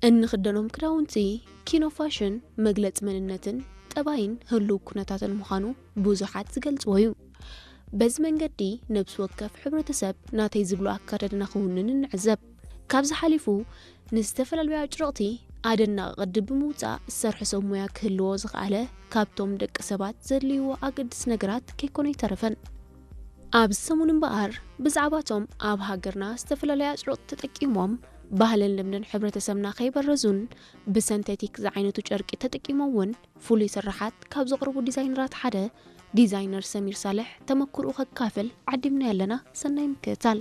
እንኽደኖም ክዳውንቲ ኪኖ ፋሽን መግለፂ መንነትን ጠባይን ህልው ኩነታትን ምዃኑ ብዙሓት ዝገልፅዎ እዩ። በዚ መንገዲ ነብሲ ወከፍ ሕብረተሰብ ናተይ ዝብሎ ኣካዳድና ክውንን ንዕዘብ። ካብዚ ሓሊፉ ንዝተፈላለዩ ኣጭርቕቲ ኣደናቂ ቅዲ ብምውፃእ ዝሰርሐ ሰብ ሞያ ክህልዎ ዝኸኣለ ካብቶም ደቂ ሰባት ዘድልይዎ ኣገድስ ነገራት ከይኮነ ይተረፈን። ኣብዚ ሰሙን እምበኣር ብዛዕባቶም ኣብ ሃገርና ዝተፈላለዩ ኣጭርቕቲ ተጠቂሞም ባህልን ልምድን ሕብረተሰብና ከይበረዙን ብሰንቴቲክ ዝዓይነቱ ጨርቂ ተጠቂሞም እውን ፍሉይ ስራሓት ካብ ዘቕርቡ ዲዛይነራት ሓደ ዲዛይነር ሰሚር ሳልሕ ተመክርኡ ከካፍል ዓዲምና ኣለና። ሰናይ ምክትታል።